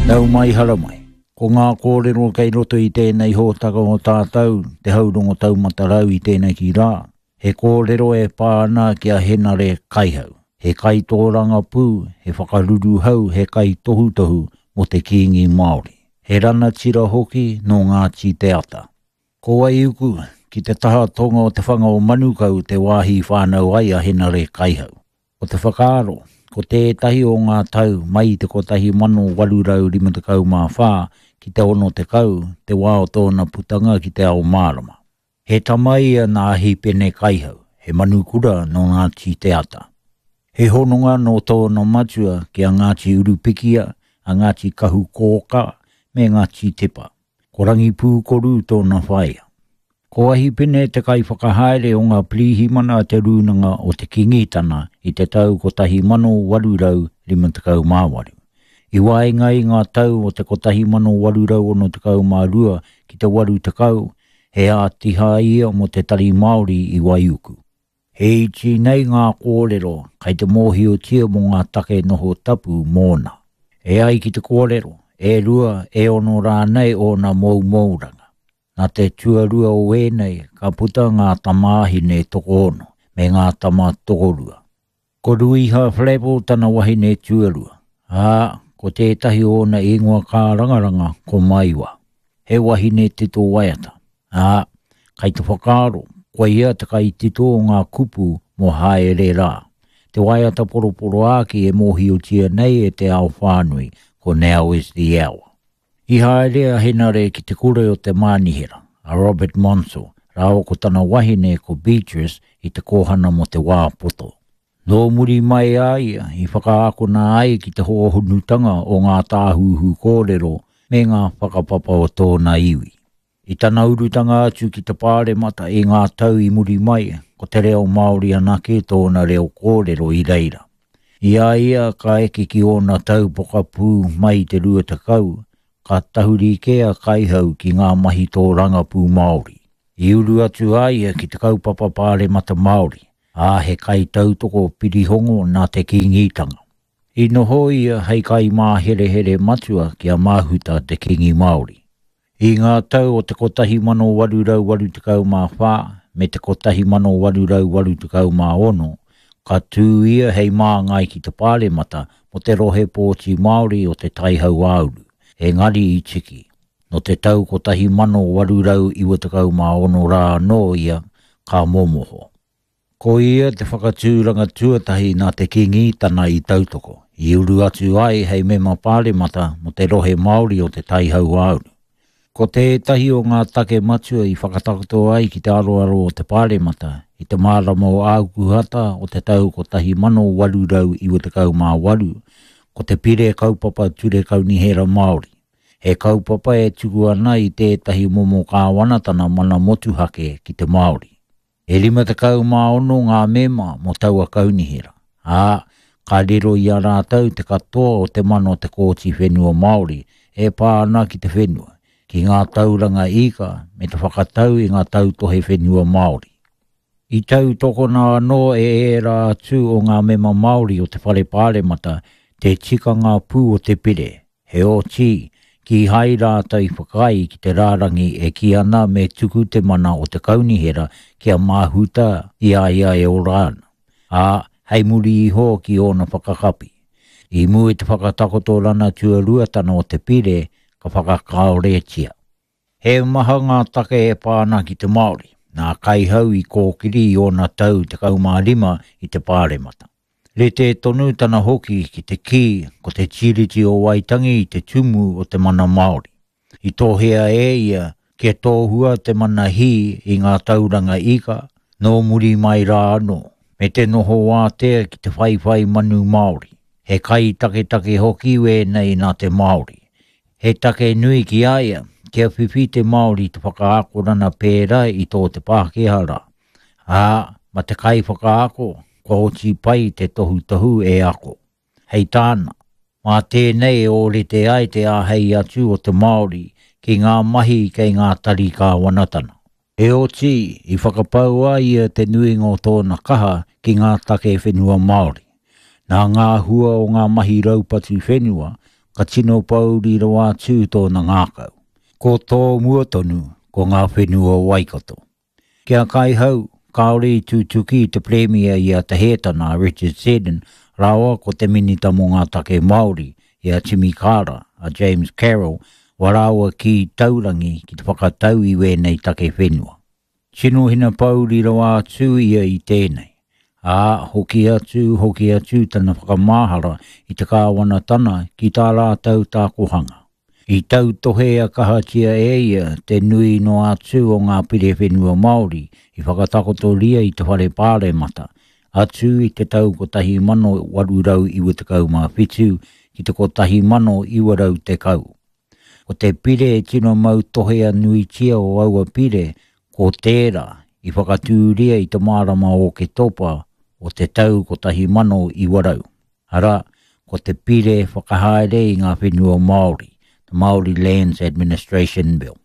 Nau mai haramai. Ko ngā kōrero kei roto i tēnei hōtaka o tātou, Te Haurongo Taumata Rau i tēnei ki rā, he kōrero e pā ana ki a Henare Kaihau. He kaitōrangapū, he whakaruruhau, he kaitohutohu mō te Kīngi Māori. He ranatira hoki nō Ngāti Te Ata. Ko Waiuku, ki te taha tonga o te whanga o Manukau te wāhi i whānau ai a Henare Kaihau. Ko te whakaaro, ko tētahi o ngā tau mai i te 1854 ki te 60 te wā o tōna putanga ki te ao mārama. He tama ia nā Hīpene Kaihau, he manukura nō Ngāti Te Ata. He hononga nō tōna matua ki a Ngāti Urupikia, a Ngāti Kahukōkā me Ngāti Tepa. Ko Rangipūkoru tōna whaea. Ko Ahipene te kaiwhakahaere o ngā pirihimana a te Rūnanga o te Kīngitana i te tau 1858. I waenga i ngā tau o te 1862 ki te 80, he ātiha ia mō te Tari Māori i Waiuku. He iti nei ngā kōrero kei te mōhiotia mō ngā take noho tapu mōna. E ai ki te kōrero, e rua, e ono rānei ōna moumouranga. Nā te tuarua o ēnei ka puta ngā tamāhine tokoono me ngā tama tokorua. Ko Ruiha Flavell tana wahine tuarua, ā, ko tētahi o ōna ingoa kārangaranga ko Maiwa. He wahine tito waiata, ā, kai te whakaaro, koia te kaitito o ngā kupu mō Haere Rā, te waiata poroporoāki e mōhiotia nei e te ao whānui ko Now Is The Hour. I haere a Henare ki te kura o te mānihera, a Robert Monsell, rāua ko tana wahine ko Beatrice i te kōhana mō te wā poto. Nō muri mai a ia i whakaakona ai ki te hōhonutanga o ngā tāhuhu kōrero me ngā whakapapa o tōna iwi. I tana urutanga atu ki te Pāremata i ngā tau i muri mai, ko te reo Māori anake tōna reo kōrero i reira. I a ia ka eke ki ōna tau pokapū mai i te 20, ka tahuri kē a Kaihau ki ngā mahi tōrangapū Māori. I uru atu a ia ki te kaupapa Pāremata Māori, ā, he kaitautoko pirihongo nā te Kīngitanga. I noho ia hei kaimāherehere matua ki a Mahuta te Kīngi Māori. I ngā tau o te 1884 me te 1886, ka tū ia hei māngai ki te Pāremata mō te rohe pōti Māori o Te Tai Hauāuru, engari i tiki. Nō te tau 1896 rā anō ia ka momoho. Ko ia te whakatūranga tuatahi nā te Kīngitana i tautoko, i uru atu ai hei mema pāremata mō te rohe Māori o Te Tai Hauāuru. Ko tētahi o ngā take matua i whakatakoto ai ki te aroaro o te Pāremata i te marama o Ākuhata o te tau 1898, ko te Pire Kaupapa Ture Kaunihera Māori, he kaupapa e tuku ana i tētahi momo kāwanatana mana motuhake ki te Māori. E 56 ngā mema mō taua kaunihera, ā, ka riro i a rātou te katoa o te mana o te Kōti Whenua Māori e pā ana ki te whenua, ki ngā tauranga ika me te whakatau i ngā tautohe whenua Māori. I tautokona anō e ērā atu o ngā mema Māori o te Whare Pāremata te tikanga pū o te pire, Heoti, kīhai rātou i whakaae ki te rārangi e kī ana me tuku te mana o te kaunihera kia māhuta i a ia e ora ana, ā, hei muri iho ki ōna whakakapi. I mua i te whakatakotorana tuaruatana o te pire, ka whakakāoretia. He maha ngā take e pā ana ki te Māori, nā Kaihau i kōkiri i ōna tau 15 i te Pāremata. Rite tonu tana hoki ki te kī ko te Tiriti o Waitangi te tumu o te mana Māori. I tohea e ia kia tohua te mana hī i ngā tauranga ika nō muri mai rā anō, me te noho wātea ki te whaiwhai manu Māori. He kai taketake hoki wēnei nā te Māori. He take nui ki a ia kia whiwhi te Māori i te whakaakorana pērā i tō te Pākehā rā. Ā, ma te kaiwhakaako kua oti pai te tohutohu e ako. Hei tāna, mā tēnei e ōrite ai te āhei atu o te Māori ki ngā mahi kei ngā tari kāwanatana. Heoti, i whakapau a ia te nuinga o tōna kaha ki ngā take whenua Māori. Nā ngā hua o ngā mahi raupatu whenua, ka tino pōuri rawa atu tōna ngākau. Ko tō mua tonu, ko ngā whenua o Waikato. Ki a Kaihau, kāore i tutuki i te Pirimia i a Te Hētana, a Richard Seddon, rāua ko te Minita mō ngā Take Māori, i a Timi Kara, a James Carroll, wā rāua kī taurangi ki te whakatau i wēnei take whenua. Tino hinapōuri rawa atu ia i tēnei, ā, hoki atu, hoki atu tana whakamahara i te kāwanatana ki tā rātou tākohanga. I tautohea kahatia e ia te nui noa atu o ngā pire whenua Māori i whakatakotoria i te Whare Pāremata, atu i te tau 1897 ki te 1910. Ko te pire e tino mautohea nuitia o aua pire ko tērā i whakatūria i te marama o Oketopa o te tau 1900. Arā, ko te Pire Whakahaere i ngā Whenua Māori, the Māori Lands Administration Bill.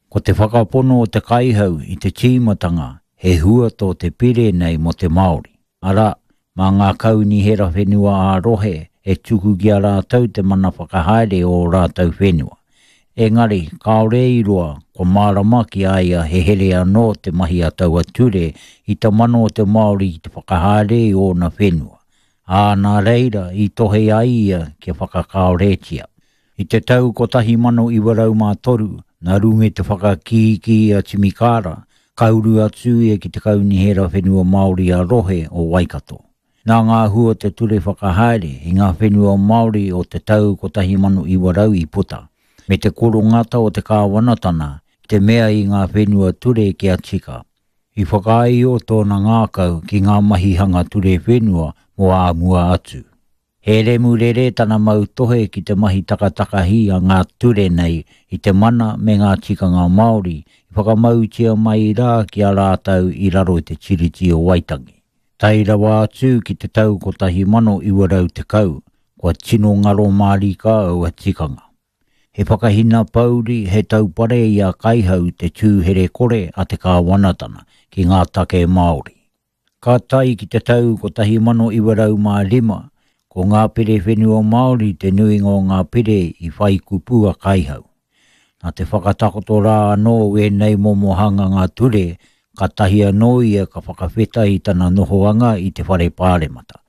Ko te whakapono o te kaihau i te tīmatanga he hua tō te pire nei mō te Māori, arā, mā ngā kaunihera whenua ā-rohe e tuku ki a rātou te mana whakahaere o ō rātou whenua. Engari, kāore i roa, kua mārama ki a ia he here anō te mahi a taua ture i te mana o te Māori ki te whakahaere i ōna whenua, ā, nā reira i tohe ai ia kia whakakāoretia. I te tau 1903, nā runga i te whakakīkī a Timi Kara, ka uru atu ia ki te Kaunihera Whenua Māori ā-Rohe o Waikato. Nā ngā hua o te ture whakahaere i ngā whenua Māori o te tau 1900 i puta, me te korongata o te kāwanatana ki te mea i ngā whenua ture kia tika. I whakaāio tōna ngākau ki ngā mahi hanga ture whenua mō ā mua atu. He remurere tana mautohe ki te mahi takatakahi a ngā ture nei i te mana me ngā tikanga Māori i whakamautia mai rā ki a rātou i raro i te Tiriti o Waitangi. Tae rawa atu ki te tau 1910, kua tino ngaro mārika aua tikanga. He whakahinapouri, he taupare i a Kaihau te tū herekore a te kāwanatana ki ngā take Māori. Ka tae ki te tau 1905, ko ngā pire whenua Māori te nuinga o ngā pire i whai kupu a Kaihau. Nā te whakatakoto rā anō o ēnei momo hanganga ture, kātahi anō ia ka whakawheta i tana nohoanga i te Whare Pāremata.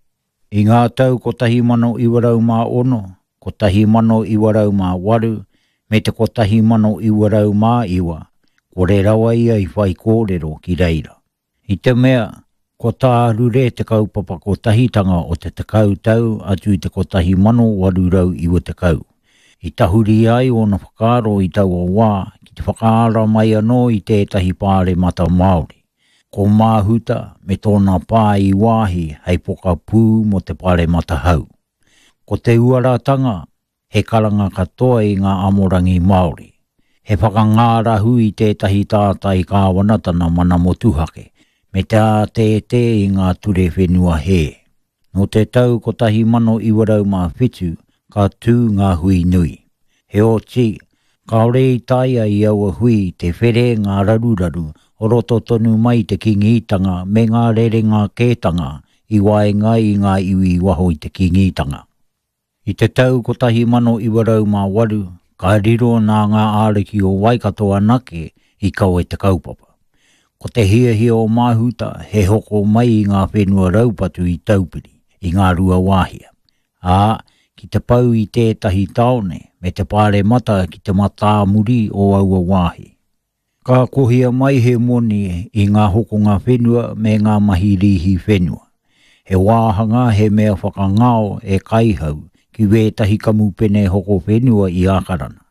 I ngā tau 1906, 1908 me te 1909, kore rawa ia i whaikōrero ki reira. I te mea, kua tārure te kaupapa kotahitanga o te tekau tau atu i te 1890. I tahuri ai ōna whakaaro i taua wā ki te whakaara mai anō i tētahi pāremata Māori. Ko Māhuta me tōna pā i wāhi hei pokapū mō te paremata hau. Ko te uaratanga, he karanga katoa i ngā amorangi Māori. He whakangārahu i tētahi tātai kāwanatana mana motuhake, me te ātētē i ngā ture whenua hē. Nō te tau 1907 ka tū ngā hui nui. Heoti, kāore i taea i aua hui te where ngā raruraru o roto tonu mai i te Kīngitanga me ngā rerenga kētanga i waenga i ngā iwi i waho i te Kīngitanga. I te tau 1908, ka riro nā ngā āriki o Waikato anake i kawe te kaupapa. Ko te hiahia o Mahuta he hoko mai i ngā whenua raupatu i Taupiri, i Ngāruawāhia, ā, ki te pau i tētahi tāone me te paremata ki te matāmuri o aua wāhi. Ka kohia mai he moni i ngā hokonga whenua me ngā mahi rīhi whenua. He wāhanga he mea whakangao e Kaihau ki wētahi kamupene hoko whenua i Ākarana.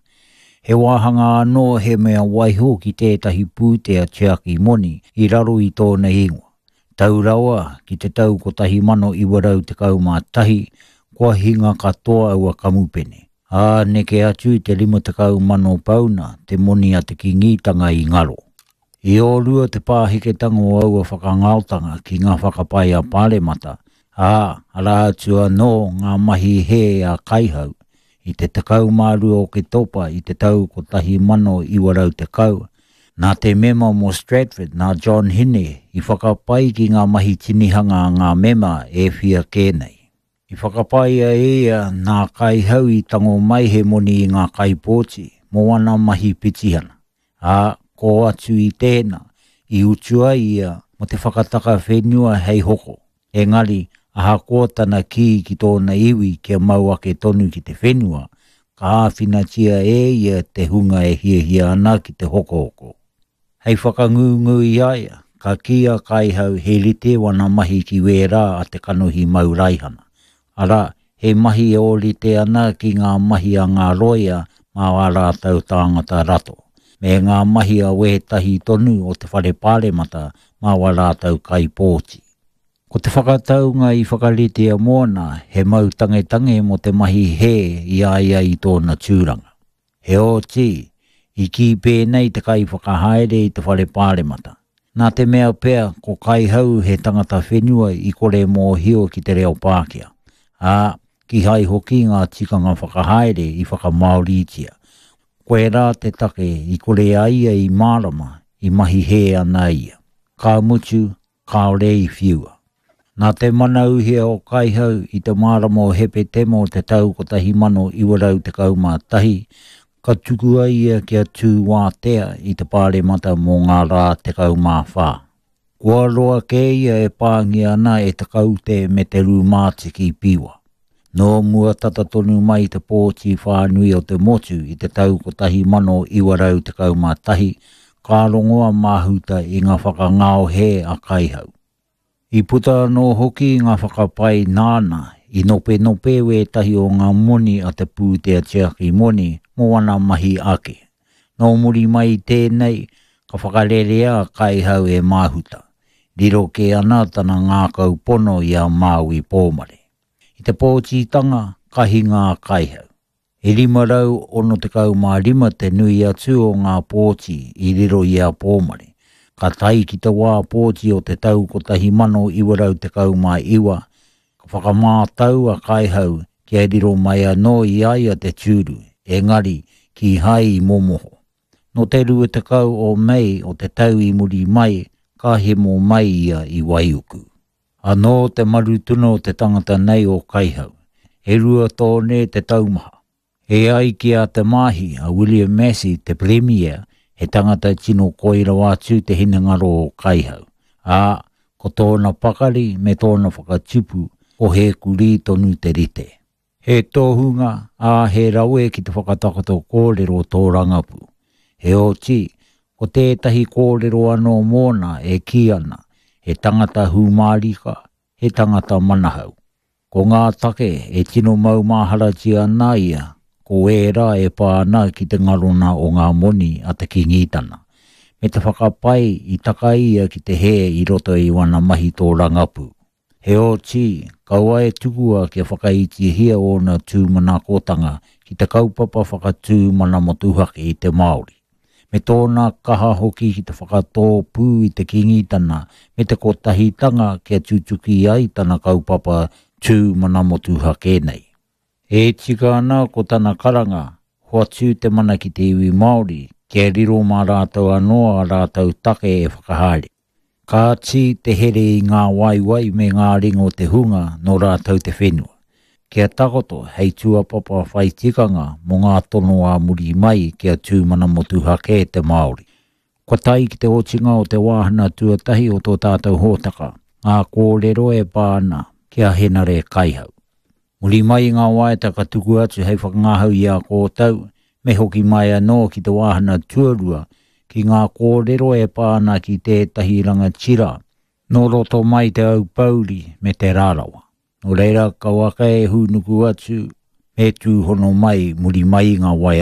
He wāhanga anō he mea waiho ki tētahi pūtea tiaki moni i raro i tōna ingoa. Tau rawa ki te tau 1911, kua hinga katoa aua kamupene, ā, neke atu i te 50,000 pauna te moni a te Kīngitanga i ngaro. I ōrua te pāheketanga o aua whakangaotanga ki ngā whakapae a Pāremata, ā, arā atu anō ngā mahi hē a Kaihau, I te 12 Oketopa i te tau 1910, nā te mema mō Stratford, nā John Hine, i whakapai ki ngā mahi tinihanga a ngā mema e whia kē nei. I whakapaea e ia nā Kaihau i tango mai he moni i ngā kaipōti mō ana mahi pitihana, ā, kō atu i tēnā, i utua ia mō te whakataka whenua hei hoko. Engari, ahakoa tana kī ki tōna iwi kia mau ake tonu ki te whenua, ka āwhinatia e ia te hunga e hiahia ana ki te hokohoko. Hei whakangungu i a ia, ka kī a Kaihau he rite wana mahi ki wērā a te kanohi mau raihana, arā, he mahi e ōrite ana ki ngā mahi a ngā rōia mā ā rātou tāngata rato, me ngā mahi a wētahi tonu o te Whare Pāremata mā wā rātou kaipōti. Ko te whakataunga i whakaritea mōna he mau tangetange mō te mahi hē i a ia i tōna tūranga. Heoti, i kī pēnei te kaiwhakahaere i te whare pāremata, nā te mea pea ko Kaihau he tangata whenua i kore mōhio ki te reo Pākehā, ā, kīhai hoki ngā tikanga whakahaere i whakamāoritia. Koirā te take i kore a ia i mārama i mahi hē ana ia. Ka mutu, kāore i whiua. Nā te mana uhia o Kaihau i te marama o Hepetema o te tau 1911, ka tukua ia kia tū wātea i te Pāremata mō ngā rā 14. Kua roa kē ia e pāngia ana e te kaute me te rūmātiki piwa. Nō mua tata tonu mai te pōti whānui o te motu i te tau 1911, ka rongo a Mahuta i ngā whakangao hē a Kaihau. I puta anō hoki ngā whakapae nāna i nopenope wētahi o ngā moni a te pūtea tiaki moni mō ana mahi ake. Nō muri mai i tēnei, ka whakarerea a Kaihau e Mahuta. Riro kē ana tana ngākau pono i a Māui Pōmare. I te pōtitanga, ka hinga a Kaihau. E 565 te nui atu o ngā pōti i riro i a Pōmare. Ka tae ki te wā pōti o te tau 1919, ka whakamātau a Kaihau kia riro mai anō i a ia te tūru, engari, kīhai i momoho. Nō te 20 o Mei o te tau i muri mai, ka hemo mai ia i Waiuku. Anō te marutuna o te tangata nei o Kaihau. E rua tōne te taumaha. E ai ki a Te Maahi, a William Massey, te Premier, he tangata tino koi rawa atu te hinengaro o Kaihau, ā, ko tōna pakari me tōna whakatupu, ko he kurī tonu te rite. He tohunga, ā, he rawe ki te whakatakoto kōrero tōrangapū. Heoti, ko tētahi kōrero anō mōna e kī ana, he tangata hūmārika, he tangata manahau. Ko ngā take e tino maumaharatia ana ia, ko ērā e pā ana ki te ngarona o ngā moni a te Kīngitana, me te whakapae i taka ia ki te hē i roto i wana mahi tōrangapū. Heoti, kaua e tukua kia whakaitihia ōna tūmanakotanga ki te kaupapa whakatū mana motuhake i te Māori, me tōna kaha hoki ki te whakatōpū i te Kīngitana me te Kotahitanga kia tutuki ai tana kaupapa tū mana motuhake nei. E tika ana ko tana karanga, hoatu te mana ki te iwi Māori, kia riro mā rātou anō ā rātou take e whakahaere. Kāti te here i ngā waewae me ngā ringa o te hunga nō rātou te whenua, kia takoto hei tūapapa whai tikanga mō ngā tono ā muri mai kia tū mana motuhake te Māori. Kua tae ki te otinga o te wāhanga tuatahi o tō tātou hōtaka, ngā kōrero e pā ana ki a Henare Kaihau. Muri mai i ngā waiata ka tuku atu hei whakangahau i a kōtou, me hoki mai anō ki te wāhanga tuarua, ki ngā kōrero e pā ana ki tētahi rangatira nō roto mai Te Aupōuri me Te Rarawa. Nō reira, kauaka e hūnuku atu, me tūhono mai muri mai i ngā waiata.